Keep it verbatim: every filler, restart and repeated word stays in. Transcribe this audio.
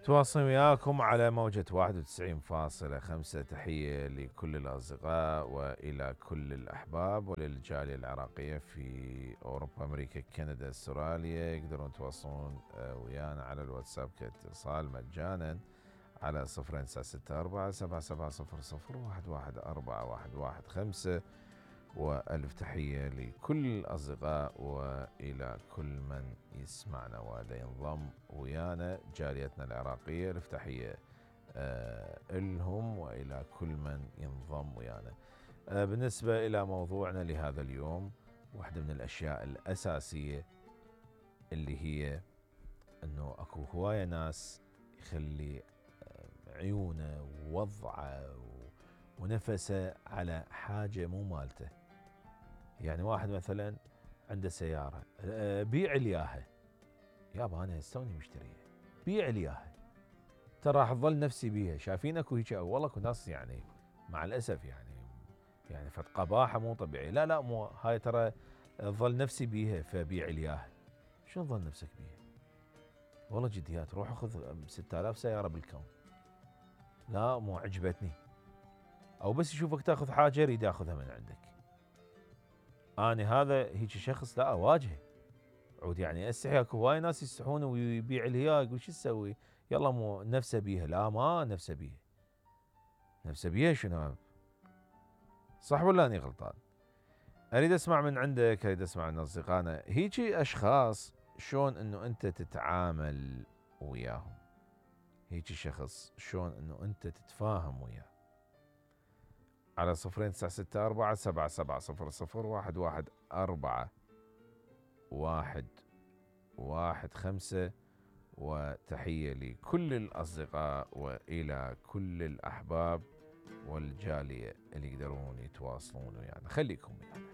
تواصل وياكم على موجة واحد وتسعين فاصلة خمسة. تحية لكل الأصدقاء وإلى كل الأحباب وللجالية العراقية في أوروبا، أمريكا، كندا، استراليا. يقدرون يتواصلون ويانا على الواتساب كاتصال مجانا على صفرين تسعة ستة أربعة سبعة سبعة صفر صفر واحد واحد أربعة واحد واحد خمسة. وألف تحية لكل الأصدقاء وإلى كل من يسمعنا وينضم ويانا جاليتنا العراقية. ألف تحية آه لهم وإلى كل من ينضم ويانا. آه بالنسبة إلى موضوعنا لهذا اليوم، واحدة من الأشياء الأساسية اللي هي أنه أكو هواية ناس يخلي عيونه ووضعه ونفسه على حاجة مو مالته. يعني واحد مثلا عنده سيارة، بيع لياها، يابا أنا استوني مشتريها، بيع لياها، ترى راح تظل نفسي بيها. شايفين اكو هيك والله اكو ناس يعني مع الأسف يعني يعني فد قباحة مو طبيعية. لا لا مو هاي، ترى تظل نفسي بيها فبيع لياها. شو تظل نفسك بيها؟ والله جديات، روح خذ ستة آلاف سيارة بالكون. لا مو عجبتني، او بس يشوفك تاخذ حاجة يريد ياخذها من عندك. أنا هذا هيك شخص لا أواجهه. عود يعني استحي، اكو هواي ناس يستحون ويبيع لها، يقول شو تسوي؟ يلا مو نفسه بيها. لا ما نفسه بيها. نفسه بيها شنو؟ صح ولا أني غلطان؟ اريد اسمع من عندك، اريد اسمع من اصدقائنا هيجي اشخاص شلون انه انت تتعامل وياهم. هيجي شخص شلون انه انت تتفاهم وياه. على صفرين تسعة ستة أربعة سبعة سبعة صفر صفر واحد واحد أربعة واحد واحد خمسة. وتحية لكل الأصدقاء وإلى كل الأحباب والجالية اللي يقدرون يتواصلون ويانا. خليكم ويانا.